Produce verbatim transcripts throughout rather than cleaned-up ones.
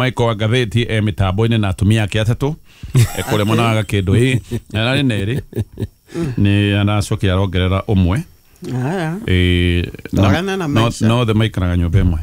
Michael wa ngathĩti e mĩtambo-inĩ na atumia ake atatũ kũrĩa mwena wa Gakĩndũ ĩ ararĩ na erĩ nĩ aracokia arongerera ũmwe. Haya. Eh, Twarana na no, maisha. no othe maikaraga nyũmba ĩmwe.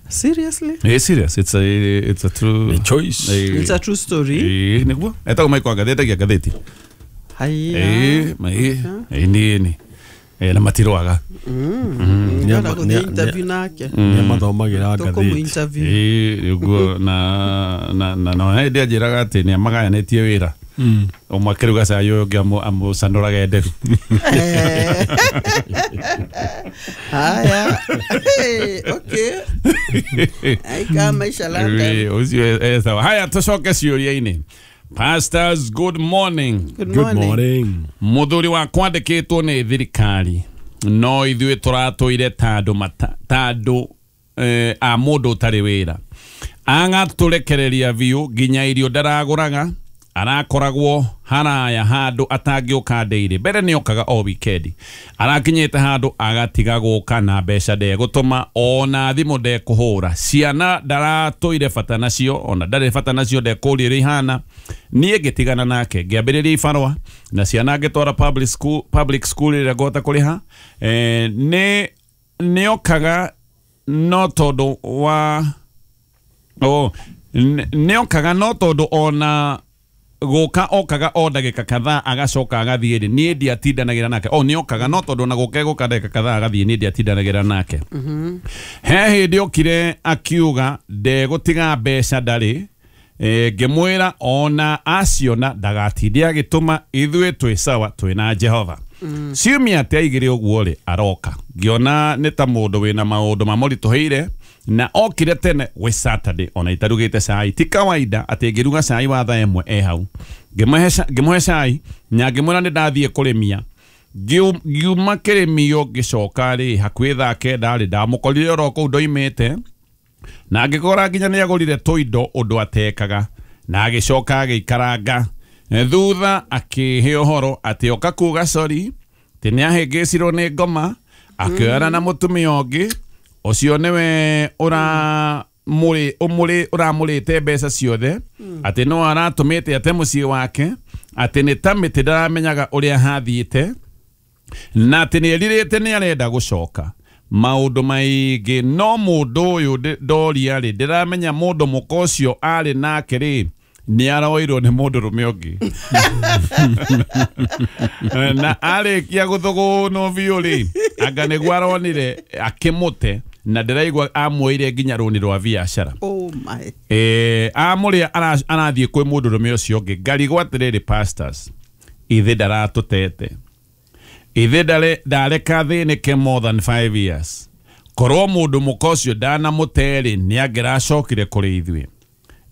Seriously? Eh, serious, it's a it's a true A choice. Eh, It's a true story. eh, nĩguo etagwo Michael wa ngathĩti etagia ngathĩti. Haya. Eh, ma eh eh, nĩ nĩ eh, na matirwaga. Ndĩrenda Nĩ- gũthiĩ nĩ- interview nake. nĩ mathomagĩra Tũkũmũ ngathĩti. interview. Eh, nĩguo na na na na hĩndĩ anjĩraga atĩ nĩ amagayanĩtie wĩra ũmwe akĩruga cai ũyũ ũngĩ amũ- amũcanũraga nderu. Eh. Haya. Hey, okay. Aika maisha London. Eh, ũcio e sawa. Haya, tũcoke ciũria-inĩ. Pastors, good morning. Good Good morning. morning. Mũthuri wakwa andĩkĩtwo nĩ thirikari no ithuĩ tũratũire ta andũ mata- ta andũ eh, a mũndũ ũtarĩ wĩra agatũrekereria biũ nginya irio ndaragũraga arakoragwo haraya handũ atangĩũka ndĩirĩ mbere nĩokaga o wikendi arakinyĩte handũ agatiga gũka na mbeca ndegũtũma ona thimũ ndekũhũra ciana ndaratũire bata nacio ona ndarĩ bata nacio ndekũria ũrĩa ihana niĩ ngĩtigana nake ngĩambĩrĩria ibarũa na ciana ngĩtwara public school, public school ĩrĩa ngũhota kũrĩha eh, nĩ nĩokaga no tondũ wa oh, nĩ- nĩokaga no tondũ ona gũka okaga o ndagĩka kadhaa agacoka agathiĩ rĩ niĩ ndiatindanagĩra nake o nĩokaga no tondũ ona gũka egũka ndagĩka kadhaa agathiĩ niĩ ndiatindanagĩra nake he hĩndĩ okire akiuga ndegũtiga mbeca ndarĩ e, ngĩmwĩra ona aciona ndagatinde agĩtũma ithuĩ twĩ sawa twĩ na Jehova ciumia atĩ aigĩre ũguo rĩ aroka ngĩona nĩ ta mũndũ wĩna maũndũ mamũritũhĩire na okire tene gwĩ Saturday ona itarugĩte cai ti kawaida atĩ ngĩruga cai wa thaa ĩmwe e hau ngĩmũhe ca- ngĩmũhe cai na ngĩmwĩra nĩ ndathiĩ kũrĩmia Ngiu- ngiuma kĩrĩmio ngĩcoka rĩ hakuhĩ thaa kenda rĩ ndamũkorire oro kũu ndoimĩte na ngĩkora nginya nĩ agũrire tũindo ũndũ atekaga na agĩcoka agĩikaranga thutha akĩhe ũhoro atĩ oka kuga sorry atĩ nĩ ahĩngĩcirwo nĩ ngoma akĩoyana na mũtumia ũngĩ ũcio nĩwe ũramũrĩ ũmũrĩ ũramũrĩte mbeca ciothe atĩ no aratũmĩte ate mũciĩ wake atĩ nĩ ta mĩtĩ ndaramenyaga ũrĩa hathiĩte na atĩ nĩ erirĩte nĩ arenda gũcoka maũndũ maingĩ no mũndũ ũyũ ndĩ- ndoria rĩ ndĩramenya mũndũ mũka ũcio arĩ nake rĩ nĩ aroirwo nĩ mũndũrũme ũngĩ na arĩkia gũthũgũnwo biũ rĩ anga nĩguo aronire akĩmũte na ndĩraigua amuoire nginya rũni rwa biacara. Oh my. Eh, amũrĩa ara- arathiĩ kwĩ mũndũrũme ũcio ũngĩ ngarigwo atĩrĩrĩ pastors ithe ndaratũtete ithe ndare- ndareka thĩnĩke more than five years korwo mũndũ mũka ũcio ndanamũte-rĩ nĩ angĩracokire kũrĩ ithuĩ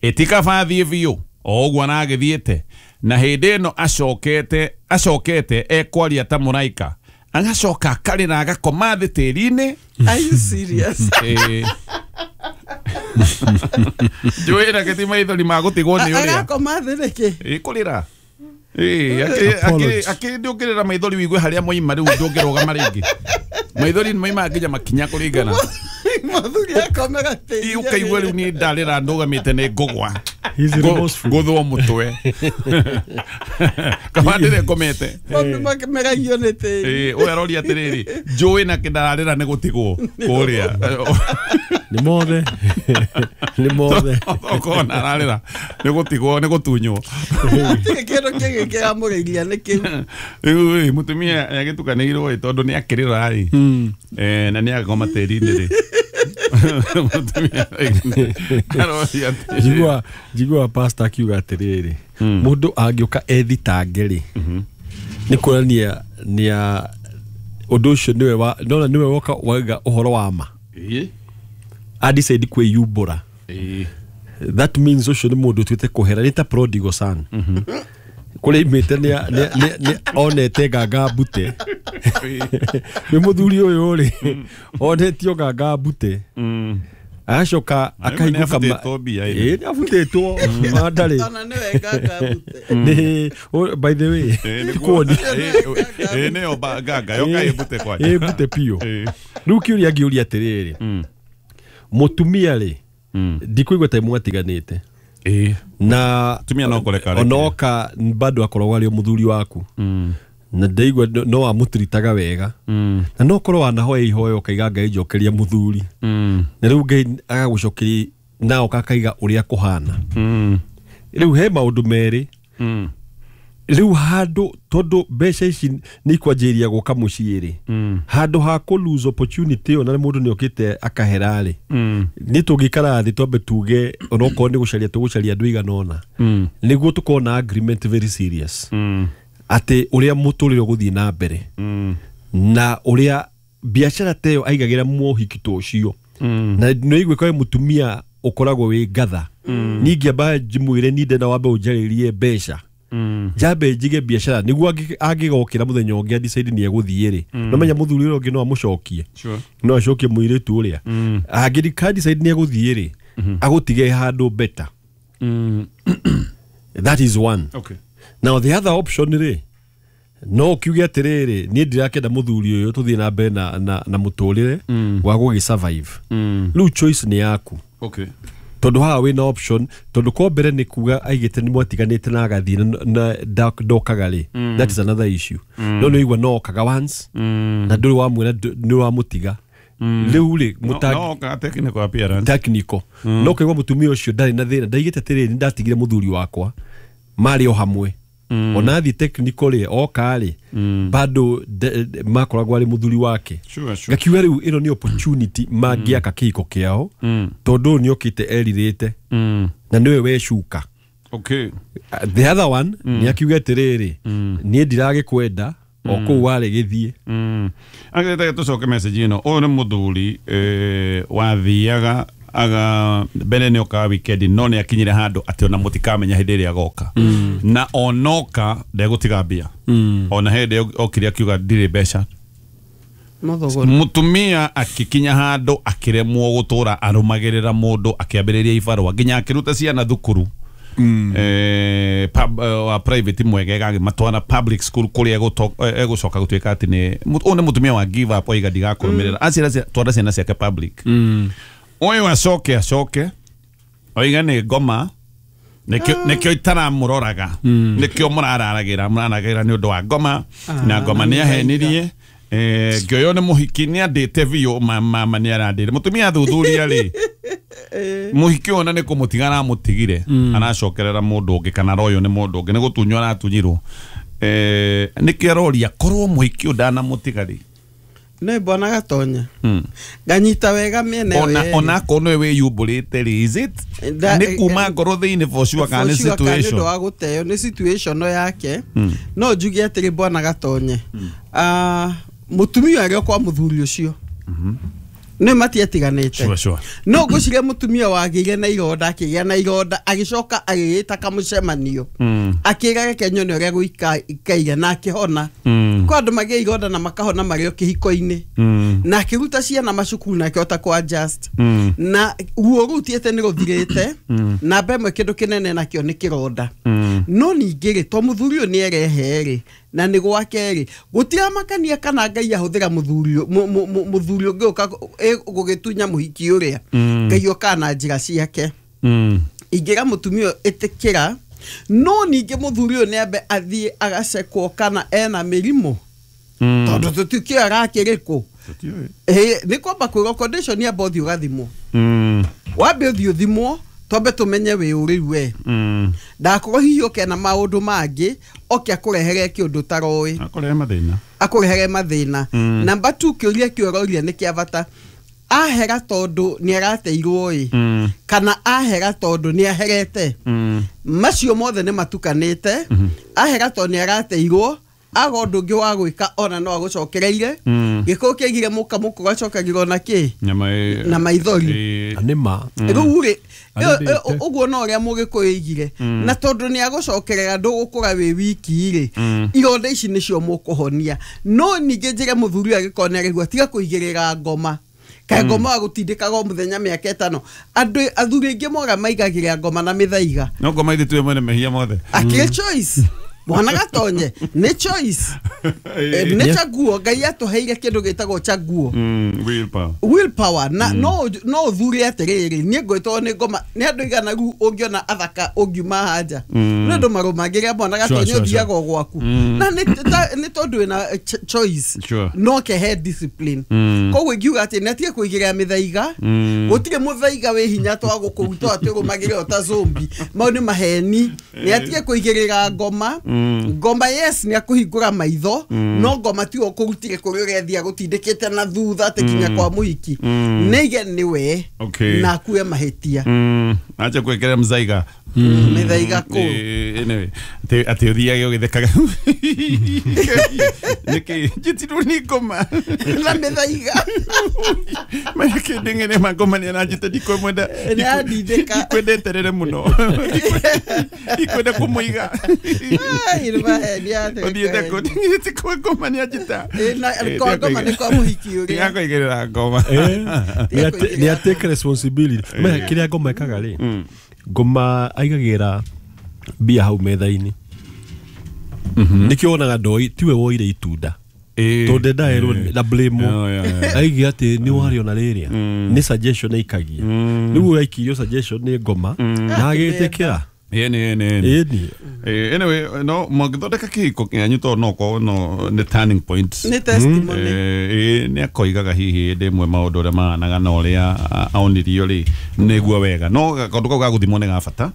ĩtikaba thiĩ biũ o ũguo aragĩthiĩte na hĩndĩ ĩno acokete acokete ekwaria ta mũraika agacoka akarĩra agakoma thĩ tĩri-inĩ. Are you serious? Ĩĩ. Njũĩ na gĩti maithori ma gũtigwo nĩ ũrĩa Agakoma thĩ nĩkĩ? Ĩ, kũrĩra Ĩ, akĩrĩ- Apology. akĩrĩ akĩrĩ ndũngĩrĩra maithori wigue harĩa moima rĩu ndũngĩrũgama rĩngĩ maithori nĩ moimaga nginya makinya kũringana Mũthuri akomega tĩri. Ĩ, ũkaigua rĩu niĩ ndarĩra ndũgamĩte nĩ ngũgwa He's Ngũ- remorseful. ngũthwo mũtwe kaba ndĩrĩ ngomete. Maũndũ makĩmegagio nĩ tĩri. Ĩ, ũyũ aroria atĩrĩrĩ njũĩ na kĩndararĩra nĩ gũtigwo kũrĩa Nĩ mothe nĩ mothe ũkona ararĩra nĩ gũtigwo nĩ gũtunywo. Hatirĩ kĩndũ kĩngĩ kĩramũrĩria nĩ kĩu. Rĩu ĩ mũtumia agĩtukanĩirwo ĩ tondũ nĩ akĩrĩra ĩ Eh, na nĩ agakoma tĩri-inĩ rĩ mũtumia aroria atĩrĩrĩ. njigua njigua pastor akiuga atĩrĩrĩ mũndũ angĩũka ethitange rĩ nĩ kuonania nĩa ũndũ ũcio nĩwe wa nona nĩwe woka wauga ũhoro wa ma Ĩ, a decide kwĩyumbũra. Ĩ, That means ũcio nĩ mũndũ ũtuĩte kũhera nĩ ta prodigal son kũrĩa imĩte nĩ nĩ- nĩ- nĩ onete nganga mbute nĩ mũthuri ũyũ rĩ onetio nganga mbute mm. agacoka akahingũka ma- nĩabutĩtwo mbia ĩno. Ĩ, nĩabutĩtwo ma ndarĩ Ona nĩwe nganga mbute. nĩ o- by the way Ĩ, nĩguo. kuoni Ĩ, ĩ, nĩyo ba- nganga yoka ĩmbute kwanja. ĩ mbute biũ. Ĩ. Rĩu kĩũria ngĩũria atĩrĩrĩ Mm. mũtumia rĩ Ndikũigua ta mwatiganĩte. Ĩĩ. Na Tumia no kũreka reke. Onoka bado akoragwo arĩ o mũthuri waku. Na ndaigua no- no amũtiritaga wega. Na no korwo wanahoya ihoya ũkaiga Ngai njokeria mũthuri. Na rĩu Ngai agagũcokeria na oka akaiga ũrĩa kũhana. Rĩu he maũndũ merĩ. Rĩu handũ tondũ mbeca ici nĩ ikwanjĩrĩria gũka mũciĩ rĩ, handũ ha kũ lose opportunity ĩyo na mũndũ nĩ okĩte akahera rĩ, nĩ tũngĩikara thĩ twambe tuge onokorwo nĩ gũcaria tũgũcaria andũ igana ũna, nĩguo tũkorwo na agreement very serious atĩ ũrĩa mũtũrĩre ũgũthiĩ na mbere na ũrĩa biacara ta ĩyo aigagĩra mũhiki ta ũcio. Na nĩ igua kwĩ mũtumia ũkoragwo wĩ ngatha, niĩ ingĩamba njimwĩre niĩ ndenda wambe ũnjarĩrie mbeca, njambe njige biacara nĩguo angĩ- angĩgokĩra mũthenya ũngĩ decide nĩ egũthiĩ rĩ, no menya mũthuri ũrĩa ũngĩ no amũcokie, Sure. no acokie mũirĩtu ũrĩa angĩka decide nĩ egũthiĩ rĩ, agũtige handũ better. That is one. Okay. Now the other option rĩ, no kiuge atĩrĩrĩ, niĩ ndirakenda mũthuri ũyũ tũthiĩ na mbere na, na, na mũtũrĩre wa gũgĩ survive. Rĩu choice nĩ yaku. Okay. Tondũ haha wĩna option, tondũ ko mbere nĩ kuga aigĩte nĩ mwatiganĩte na agathiĩ na- na nda- ndokaga rĩ, that is another issue. No nĩ ũigua no okaga once na ndũrĩ wamwĩra nĩ wamũtiga. Rĩu rĩ No, mũtangi no ka technical appearance. Technical no kaigua mũtumia ũcio ndarĩ na thĩna, ndaigĩte atĩrĩrĩ, nĩ ndatigire mũthuri wakwa marĩ o hamwe, ona athiĩ technical rĩ, oka rĩ, bado de- de- makoragwo arĩ mũthuri wake. Sure, sure. Ngakiuga rĩu ĩno nĩ opportunity mangĩaka kĩhiko kĩao, tondũ ũyũ nĩ okĩte erirĩte na nĩwe wecuka. Okay. The other one nĩ akiuga atĩrĩrĩ, niĩ ndiragĩkwenda o kũu warĩ gĩthiĩ. Agĩte tũcoke message ĩno. Ũyũ nĩ mũthuri eh, wathiaga aga mbere nĩ okaga weekend, no nĩ akinyire handũ atĩ ona mũtikamenya hĩndĩ ĩrĩa agoka, na onoka ndegũtiga mbia. Ona hĩndĩ okire akiuga ndirĩ mbeca. Mũthũgũri. Mũtumia akĩkinya handũ akĩremwo gũtũra arũmagĩrĩra mũndũ, akĩambĩrĩria ibarũa nginya akĩruta ciana thukuru eh, pub, eh, wa private mwegega agĩmatwara public school kũrĩa egũto- eh, egũcoka gũtuĩka atĩ nĩ ũyũ nĩ mũtumia wa give up, oiga ndigakũrũmĩrĩra, aciara cia- twara ciana ciake public. Ũyũ acoke acoke oiga nĩ ngoma, nĩkĩo nĩkĩo itaramũroraga, nĩkĩo mũrararagĩra mũraragĩra nĩ ũndũ wa ngoma, na ngoma nĩ ahenirie. Eh, ngĩoywo nĩ mũhiki nĩ andĩte biũ, mama nĩ arandĩre. Mũtumia athuthuria rĩ, mũhiki ũyũ ona nĩ kũmũtiga aramũtigire, aracokerera mũndũ ũngĩ, kana royo nĩ mũndũ ũngĩ, nĩ gũtunywo aratunyirwo. Eh, nĩkĩo aroria korwo mũhiki ũyũ ndanamũtiga rĩ. Nĩ mbona Gatonya nganyita wega mĩena ĩyo Ona yerĩ. ona akorwo nĩwe wĩyumbũrĩte rĩ, is it Nda- nĩ kuma ngoro thĩinĩ for sure kana nĩ For sure kana nĩ ũndũ situation? wa gũteo nĩ situation yake. No njuge atĩrĩ, bwana Gatonye, ah, mũtumia arĩ o kwa mũthuri ũcio nĩ matiatiganĩte. Sure, sure. No ngwĩciria mũtumia wagĩire na ironda, akĩgĩa na ironda, agĩcoka agĩgĩta kamũcemanio, akĩra reke nyone ũrĩa gũikaire, na akĩhona. Kwa andũ magĩa ironda na makahona marĩ o kĩhiko-inĩ, na akĩruta ciana macukuru na akĩhota kũ adjust, na ruo rũu tiĩte nĩ rũthirĩte. Namba ĩmwe kĩndũ kĩnene nakĩo nĩ kĩronda. No ningĩ rĩ, to mũthuri ũyũ nĩ erehe rĩ, na nĩ gwake rĩ, gũtiramakania kana Ngai ahũthĩra mũthuri ũ- mũ- mũ- mũ- mũthuri ũngĩ ũka gũgĩtunya mũhiki ũrĩa, Ngai okaga na njĩra ciake. Ingĩra mũtumia ũyũ ĩtĩkĩra, no ningĩ mũthuri ũyũ nĩ ambe athiĩ agacekwo kana ena mĩrimũ, tondũ tũtikĩũĩ arakĩrĩkũ. Ĩ, nĩ kwamba kwĩrwo condition yamba ũthiĩ ũgathimwo, wambe ũthiĩ ũthimwo twambe tũmenye wĩ ũ rĩu we, ndakorwo hihi ũke na maũndũ mangĩ oke akũrehere kĩũndũ ũtaroĩ, akũrehe mathĩna, akũrehere mathĩna. Namba two, kĩũria kĩu ũroria nĩ kĩa bata. Ahera tondũ nĩ arateirwo ĩ, kana ahera tondũ nĩ aherete? Macio mothe nĩ matukanĩte. Ahera tondũ nĩ arateirwo, aga ũndũ ũngĩ wa gwĩka, ona no agũcokereire gĩkũyũ kĩaigire mũka mũkũ gacokagĩrwo na kĩ nyama ĩ- na maithori. ĩ- Na nĩ ma. Rĩu rĩ, Arĩndĩte. ũguo no ũrĩa mũgĩkũyũ aigire, na tondũ nĩ agũcokerera ndũgũkũra wĩ wiki rĩ, ironda ici nĩcio mũkũhonia. No ningĩ njĩre mũthuri ũyũ angĩkorwo nĩ araigua, tiga kũigĩrĩra ngoma, kaĩ ngoma wa gũtindĩkaga o mũthenya mĩaka ĩtano. Andũ athuri aingĩ mora maigagĩrĩra ngoma na mĩthaiga. No ngoma ithe tuwe mwene mehia mothe. Akĩrĩ choice. Mwana gatonye nĩ choice. Nĩ chaguo Ngai atũheire kĩndũ gĩtagwo chaguo. Willpower. Willpower na no no thure atĩrĩrĩ niĩ ngwĩtwo nĩ ngoma nĩ andũ igana rĩu ũngĩona athaka ũngiuma haja nĩ andũ marũmagĩrĩra mwana gatonye ũthiaga gwaku na nĩ tondũ wĩna choice no kehe discipline koguo ingiuga atĩ nĩ atige kũigĩrĩra mĩthaiga gũtirĩ mũthaiga wĩ hinya twa gũkũruta atĩ ũrũmagĩrĩra o ta zombie mau nĩ maheni nĩ atige kũigĩrĩra ngoma ngoma yes nĩ akũhingũra maitho no ngoma tiwe ũkũrutire kũrĩa ũrethia gũtindĩkĩte na thutha atĩ kinya kwa mũhiki nĩige nĩwe na akue mahĩtia acha kwekera mzaiga mĩthaiga kũ anyway atĩ ũthiage ũgĩthekaga nĩkĩ njĩtirwo nĩ ngoma na mĩthaiga maya kĩndĩng'ene mangoma nĩ aranjĩte ndikwenda nĩandindĩka ndikwendeterere mũno ndikwenda kũmũiga ũthiĩte kũ ndĩng'ĩte kwa ngoma nĩ anjĩta kwa ngoma nĩ kwa mũhiki ũrĩa ndigakoigĩrĩra ngoma nĩ a take responsibility kĩrĩa ngoma ĩkaga rĩ ngoma aigagĩra mbia hau metha-inĩ nĩkĩo wonaga ndoi tiwe woire itunda tondũ ndendaerwo na blame aigia atĩ nĩ warĩona rĩrĩa nĩ suggestion aikagia rĩu ũraikirio suggestion nĩ ngoma na agĩtĩkĩra ĩni ĩni ĩni anyway no mũngĩthondeka kĩhiko kĩanyu tondũ no korwo no nĩ turning point nĩ testimony ĩĩ nĩ akoigaga hihi hĩndĩ ĩmwe maũndũ ũrĩa mahanaga na ũrĩa aonirio rĩ nĩguo wega no kaũndũ kau ga gũthimwo nĩ ga bata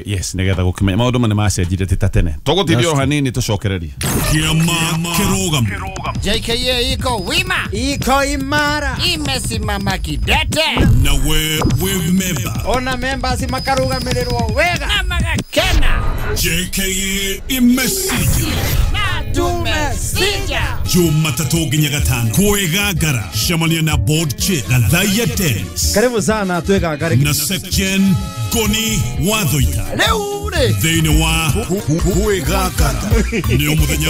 yes nĩgetha gũkĩmenya maũndũ ma nĩ macenjirie ti ta tene tũgũtindio o hanini tũcokererie Kĩama Kĩrũgamo J K A iko wima iko imara imesimama kidete na we we member ona members makarũgamĩrĩrwo wega na magakena J K A imesija na tumesija Jumatatu nginya gatano kwĩgangara cemania na board chair Gathaiya Dennis karibu sana twĩgangare na Sepjen Goni Wathoita rĩu rĩ thĩinĩ wa kwĩgangara nĩ mũthenya